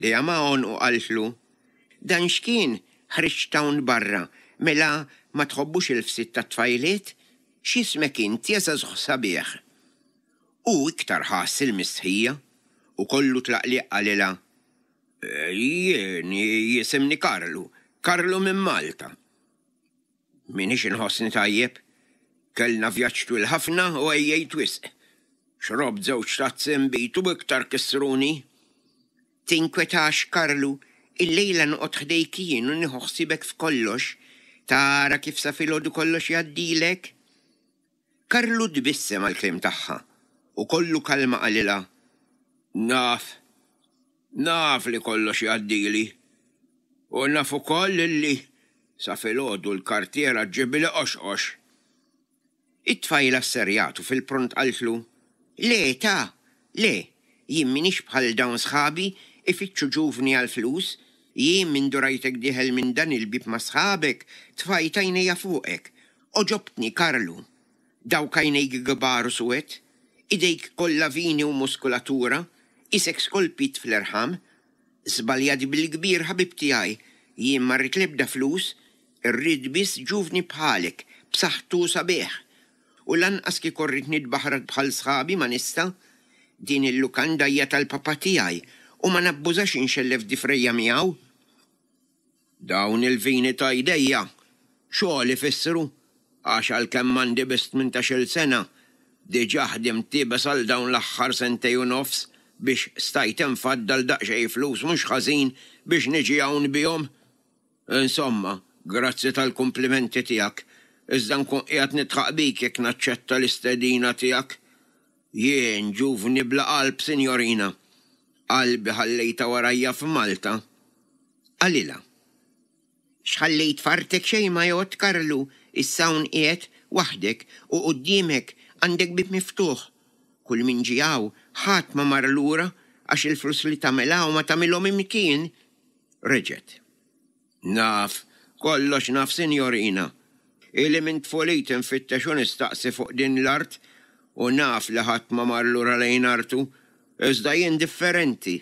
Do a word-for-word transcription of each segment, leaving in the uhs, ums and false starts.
Idejha ma' għonqu qaltlu, "Dan x'kien ħriġt hawn barra, mela ma tħobbux il-fsit tat-tfajliet? X'ismek int ja żagħżugħ sabiħ?" Hu iktar ħass il-mistħija u kollu tlaqliq qalilha, "Jien jisimni Karlu, Karlu minn Malta." M'iniex inħossni tajjeb. Kellna vjaġġ twil ħafna u għejjejt wisq. Xrobt żewġ tazzi nbid u iktar kissruni. Tinkwetax, Karlu, illejla noqgħod ħdejk jien u nieħu ħsiebek f'kollox. Tara kif sa filgħodu kollox jgħaddilek. Karlu tbissem għall-kliem tagħha u kollu kalma qalilha, "Naf, naf li kollox jgħaddili. U naf ukoll illi sa filgħodu l-kartiera ġġibli qoxqox." It-tfajla sserjatu fil-pront qaltlu, "Le ta, le, jien m'iniex bħal dawn sħabi ifittxu ġuvni għall-flus, jien mindu rajtek dieħel minn dan il-bieb ma' sħabek tfajt għajnejja fuqek. Għoġobtni, Karlu. Dawk għajnejk kbar u suwed, idejk kollha vini u muskulatura, isek skolpit fl-irħam. Żbaljat bil-kbir ħabib tiegħi, jien ma rrid l-ebda flus, irrid biss ġuvni bħalek, b'saħħtu sabiħ. U lanqas kieku rrid nitbaħrad bħal sħabi ma nista', din il-lukanda hija tal-papa tiegħi u ma nabbużax inxellef difrejja miegħu. Dawn il-vini ta' jdejja xogħol ifissru, għax għalkemm għandi biss tmintax-il sena, diġà ħdimt iebes għal dawn l-aħħar sentejn u nofs biex stajt infaddal daqsxejn flus mhux ħażin biex niġi hawn bihom. Insomma, grazzi tal-kumplimenti tiegħek, iżda nkun qiegħed nidħaq bik jekk naċċetta l-istedina tiegħek. Jien ġuvni bla qalb, sinjorina. Qalbi ħallejtha warajja f'Malta. Qalilha, "X'ħallejt f'artek xejn ma jgħodd, Karlu, issa hawn qiegħed waħdek u quddiemek għandek bieb miftuħ. Kull min ġie hawn ħadd ma mar lura għax il-flus li tagħmel hawn ma tagħmilhom imkien." Reġgħet, "Naf, kollox naf, sinjorina. Ili minn tfuliti nfittex u nistaqsi fuq din l-art u naf li ħadd ma mar lura lejn artu, iżda jien differenti.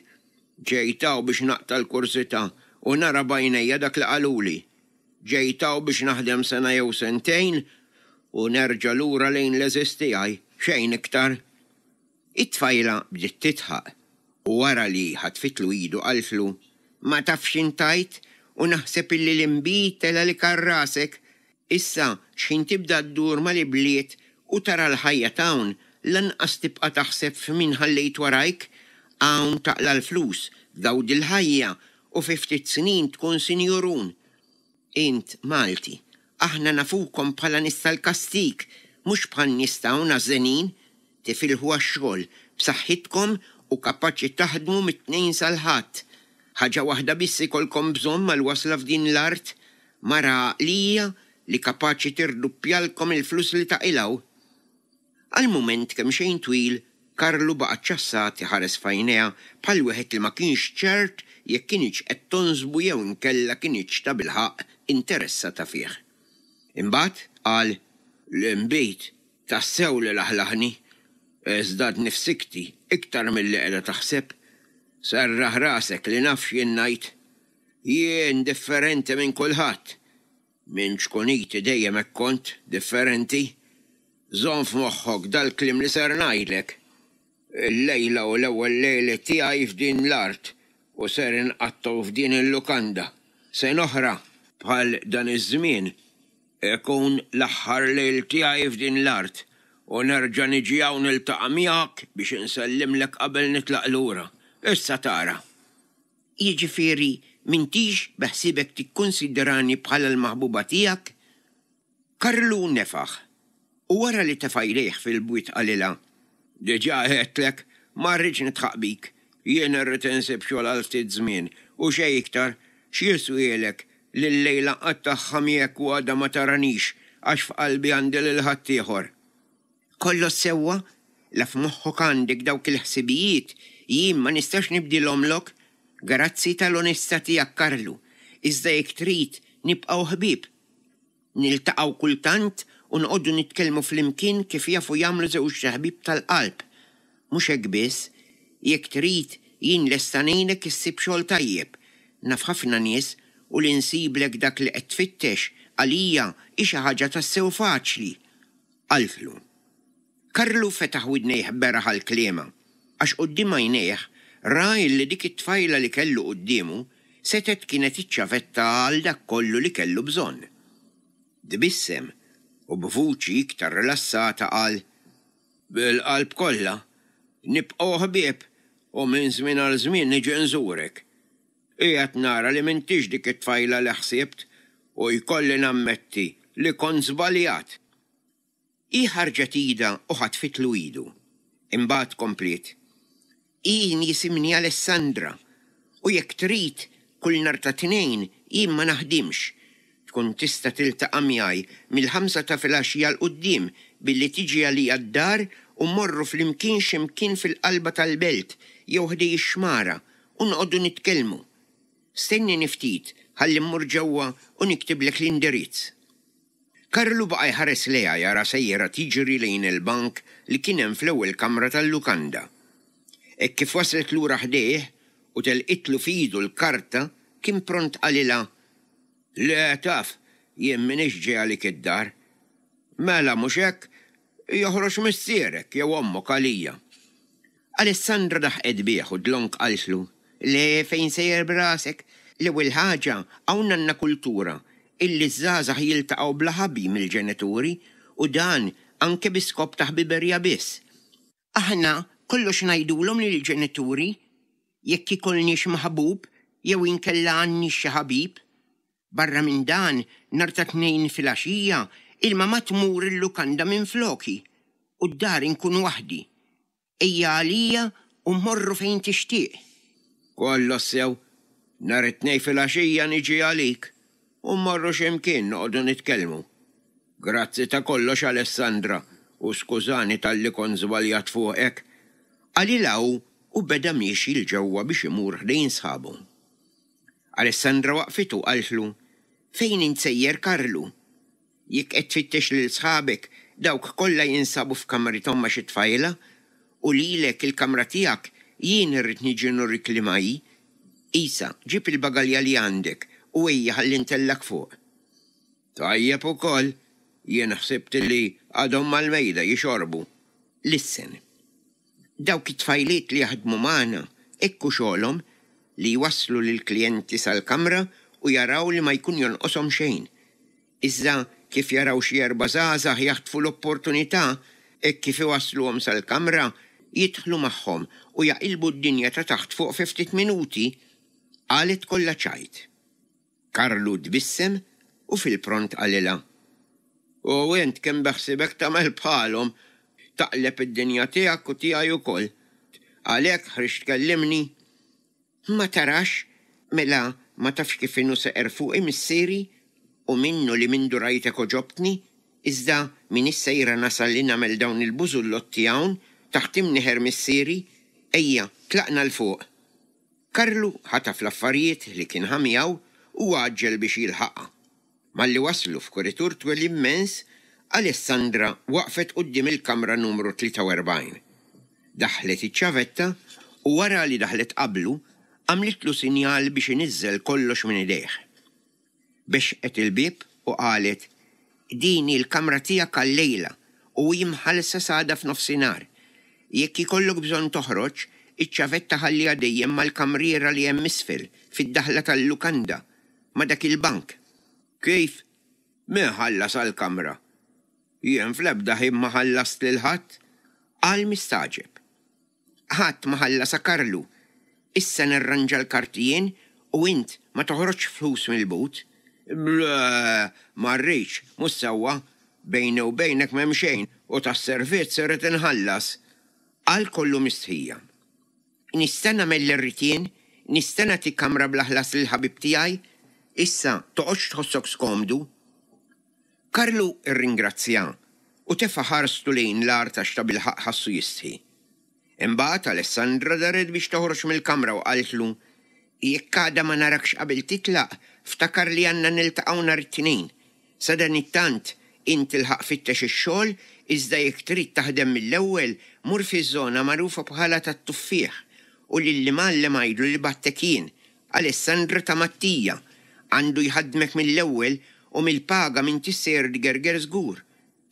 Ġejt hawn biex naqta' l-kursità u nara b'għajnejja dak li qaluli. Ġejt hawn biex naħdem sena jew sentejn u nerġa' lura lejn l-għeżież tiegħi, xejn iktar." It-tfajla bdiet tidħaq u wara li ħatfitlu idu qaltlu, "Ma tafx intajt u naħseb illi l-inbid tela' li kar rasek. Issa x'ħin tibda ddur mal-ibliet u tara l-ħajja t'hawn, lanqas tibqa' taħseb f'min ħallejt warajk. Hawn taqla' l-flus, tgawdi l-ħajja u fi ftit snin tkun sinjurun. Int Malti, aħna nafukom bħala nies tal-kastig, mhux bħal nies t'hawn għażżenin, tifilħu għax-xogħol b'saħħitkom u kapaċi taħdmu mit-Tnejn sal-Ħadd. Ħaġa waħda biss ikolkom bżonn mal-wasla f'din l-art, mara għaqlija li kapaċi tirduppjalkom il-flus li taqilgħu. Għal mument kemm xejn twil, Karlu baqa' ċassat iħares f'għajnejha bħal wieħed li ma kienx ċert jekk kinitx qed tonsbu jew inkella kinitx tabilħaqq interessata fih. Imbagħad qal, "L-inbid tassew li laħlaħni, iżda għadni f'sikti iktar milli qiegħda taħseb. Serraħ rasek li naf x'jien ngħid. Jien differenti minn kulħadd. Minn ċkuniti dejjem hekk kont differenti. Żomm f'moħħok dal-kliem li ser ngħidlek. Il-lejla u l-ewwel lejli tiegħi f'din l-art u ser inqattgħu f'din il-lukanda. Sena oħra bħal dan iż-żmien ikun l-aħħar lejl tiegħi f'din l-art u nerġa' niġi hawn niltaqa' miegħek biex insellimlek qabel nitlaq lura. Issa tara." Jiġifieri m'intix beħsiebek tikkunsidrani bħala l-maħbuba tiegħek? Karlu nefaħ u wara li tefa' jdejh fil-bwiet qalilha, Diġà għedtlek, ma rridx nidħaq bik. Jien irrid insib xogħol għal ftit żmien u xejn iktar. X'jiswielek li llejla nqattagħha miegħek u għada ma taranix għax f'qalbi għandi lil ħaddieħor? Kollox sewwa, la f'moħħok għandek dawk il-ħsibijiet, jien ma nistax nibdilhomlok. Grazzi tal-onestà tiegħek, Karlu, iżda jekk trid nibqgħu ħbieb. Niltaqgħu kultant u noqogħdu nitkellmu flimkien kif jafu jagħmlu żewġ ħbieb tal-qalb. Mhux hekk biss, jekk trid Jien lesta ngħinek issib xogħol tajjeb. Naf ħafna nies u li nsiblek dak li qed tfittex għalija hi xi ħaġa tassew faċli. Qaltlu. Karlu fetaħ widnejh beraħ għal kliemha, għax quddiem għajnejh ra illi dik it-tfajla li kellu quddiemu setgħet kienet iċ-ċavetta għal dak kollu li kellu bżonn. Tbissem u b'vuċi iktar rilassata qal, Bil-qalb kollha, nibqgħu ħbieb u minn żmien għal żmien niġi nżurek. Qiegħed nara li m'intix dik it-tfajla li ħsibt u jkolli nammetti li kont żbaljat. Hi ħarġet idha u ħatfitlu idu. Imbagħad kompliet, Jien jisimni Alessandra u jekk trid kull nhar ta' Tnejn jien ma naħdimx. Tkun tista' tiltaqa' miegħi mill-ħamsa ta' filgħaxija 'l quddiem billi tiġi għalija d-dar u mmorru flimkien xi mkien fil-qalba tal-belt jew ħdej ix-xmara u noqogħdu nitkellmu. Stennini ftit ħalli mmur ġewwa u niktiblek l-indirizz. Karlu baqa' jħares lejha jara sejra tiġri lejn il-bank li kien hemm fl-ewwel kamra tal-lukanda. Hekk kif waslet lura ħdejh u telqitlu f'idu l-karta kien pront qalilha, Le taf, jien m'iniex ġej għalik id-dar. Mela mhux hekk, joħroġ missierek jew ommok għalija. Alessandra daħqet bih u dlonk qaltlu, Le fejn sejjer b'rasek? L-ewwel ħaġa hawn għandna kultura illi ż-żgħażagħ jiltaqgħu bla ħabi mill-ġenituri u dan anke bi skop ta' ħbiberija biss. Aħna kollox ngħidulhom lill-ġenituri jekk ikollniex maħbub jew inkella għandniex xi ħabib. Barra minn dan, nhar ta' Tnejn filgħaxija, il-mamà tmur il-lukanda minfloki u d-dar inkun waħdi. Ejja għalija u mmorru fejn tixtieq. Kollox sew, nhar it-Tnejn filgħaxija niġi għalik u mmorru xi mkien noqogħdu nitkellmu. Grazzi ta' kollox Alessandra u skużani talli kont żbaljat fuqek. Qalilha hu u beda miexi 'l ġewwa biex imur ħdejn sħabu. Alessandra waqfitu u qaltlu, Fejn int sejjer Karlu? Jekk qed tfittex lil sħabek, dawk kollha jinsabu f'kamrithom ma' xi tfajla, u lilek il-kamra tiegħek jien irrid niġi nurik liema hi. Isa, ġib il-bagalja li għandek u ejja ħalli ntellgħek fuq. Tajjeb ukoll, jien ħsibt li għadhom mal-mejda jixorbu. Lissen. Dawk it-tfajliet li jaħdmu magħna hekk hu xogħolhom, li jwasslu lill-klijenti sal-kamra u jaraw li ma jkun jonqoshom xejn. Iżda kif jaraw xi erba' żgħażagħ jaħtfu l-opportunità, hekk kif iwassluhom sal-kamra, jidħlu magħhom u jaqilbu d-dinja ta' taħt fuq fi ftit minuti, qalet kollha ċajt. Karlu tbissem u fil-pront qalilha, U int kemm beħsiebek tagħmel bħalhom, taqleb id-dinja tiegħek u tiegħi ukoll. Għalhekk ħriġt tkellimni? Ma tarax? Mela ma tafx kif inhu seqer fuqi missieri? U minnu li mindu rajtek għoġobtni, iżda m'iniex sejra nasal li nagħmel dawn il-bużullotti hawn taħt imnieħer missieri. Ejja, tlaqna 'l fuq. Karlu ħataf l-affarijiet li kien ħa miegħu u għaġġel biex jilħaqha. Malli waslu f'kuritur twil immens, Alessandra waqfet quddiem il-kamra numru tlieta u erbgħin. Daħħlet iċ-ċavetta u wara li daħlet qablu, għamlitlu sinjal biex iniżżel kollox minn idejh. Bexqet il-bieb u qalet, Din hi l-kamra tiegħek għal-lejla u hi mħallsa s'għada f'nofsinhar. Jekk ikollok bżonn toħroġ, iċ-ċavetta ħalliha dejjem mal-kamriera li hemm isfel, fid-daħla tal-lukanda, ma' dak il-bank. Kif? Min ħallas għall-kamra? Jien fl-ebda ħin ma ħallast lil ħadd, qal mistagħġeb. Ħadd ma ħallasha Karlu. Issa nirranġa l-karti jien u int ma toħroġx flus mill-but. Le, ma rridx, mhux sewwa. Bejni u bejnek m'hemm xejn u tas-servizz irrid inħallas. Qal kollu mistħija. Nista' nagħmel li rrid jien? Nista' nagħti kamra bla ħlas lill-ħabib tiegħi? Issa toqgħodx tħossok skomdu. Karlu rringrazzja u tefa' ħarstu lejn l-art għax tabilħaqq ħassu jistħi. Imbagħad Alessandra daret biex toħroġ mill-kamra u qaltlu, Jekk għada ma narakx qabel titlaq, ftakar li għandna niltaqgħu nhar it-Tnejn. Sadanittant, int ilħaq fittex ix-xogħol, iżda jekk trid taħdem mill-ewwel, mur fiż-żona magħrufa bħala tat-Tuffieħ u lill-imgħallem għidlu li bgħattek jien, Alessandra ta' Mattia. Għandu jħaddmek mill-ewwel u mill-paga m'intix sejjer tgerger żgur.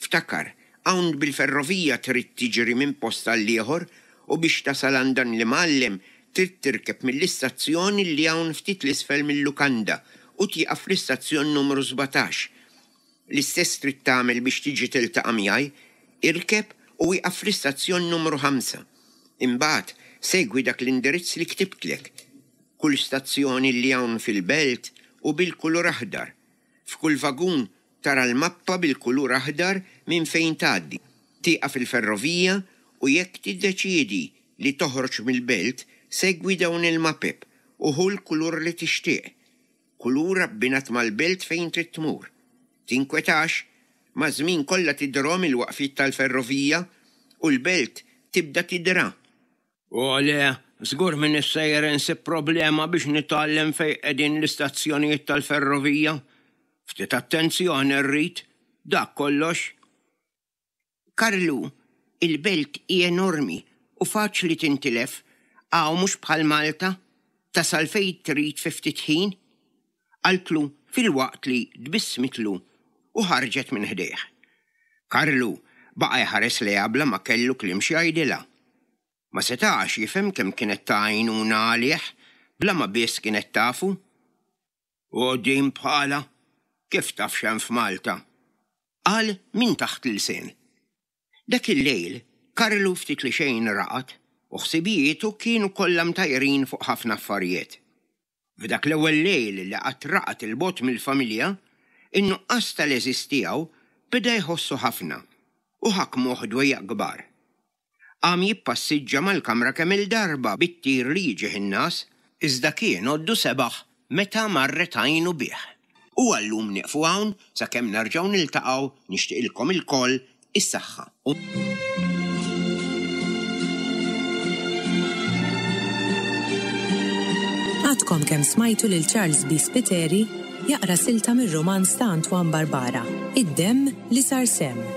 Ftakar, hawn bil-ferrovija trid tiġri minn post għall-ieħor u biex tasal għand dan l-imgħallem trid tirkeb mill-istazzjon li hawn ftit 'l isfel mil-lukanda u tieqaf fl-istazzjon numru sbatax. L-istess trid tagħmel biex tiġi tiltaqa' miegħi, irkeb u ieqaf fl-istazzjon numru ħamsa. Imbagħad segwi dak l-indirizz li ktibtlek. Kull stazzjoni li hawn fil-belt u bil-kulur aħdar. F'kull vagun tara l-mappa bil-kulur aħdar minn fejn tgħaddi. Tieqaf il-ferrovija u jekk tiddeċiedi li toħroġ mill-belt, segwi dawn il-mapep u ħu l-kulur li tixtieq. Kulur abbinat mal-belt fejn trid tmur. Tinkwetax, maż-żmien kollha tidhrom il-waqfiet tal-ferrovija u l-belt tibda tidra. O le, żgur m'iniex sejjer insib problema biex nitgħallem fejn qegħdin l-istazzjonijiet tal-ferrovija. Ftit attenzjoni rrid, dak kollox. Karlu, il-belt hi enormi u faċli tintilef, hawn mhux bħal Malta, tasal fejn trid fi ftit ħin. Qaltlu filwaqt li tbissmitlu u ħarġet minn ħdejh. Karlu baqa' jħares lejha bla ma kellu kliem xi jgħidilha. Ma setax jifhem kemm kienet ta' għajnuna għalih bla ma biss kienet tafu. U din bħala, kif taf x'hemm f'Malta? Qal minn taħt l-ilsien. Dak il-lejl, Karlu ftit li xejn raqad u ħsibijietu kienu kollha mtajrin fuq ħafna affarijiet. F'dak l-ewwel lejl li qatt raqad 'il bogħod mill-familja, in-nuqqas tal-għeżież tiegħu beda jħossu ħafna u ħakmuh dwejjaq kbar. Qam jippassiġġa mal-kamra kemm-il darba bit-tir li jiġih in-ngħas, iżda kien għoddu sebaħ meta marret għajnu bih. U għal-lum nieqfu hawn sakemm nerġgħu niltaqgħu nixtieqilkom ilkoll is-saħħa u. Għadkom kemm smajtu lil Charles B. Spiteri jaqra silta mir-rumanz ta' Antoine Barbara, Id-Demm li Sar Semm.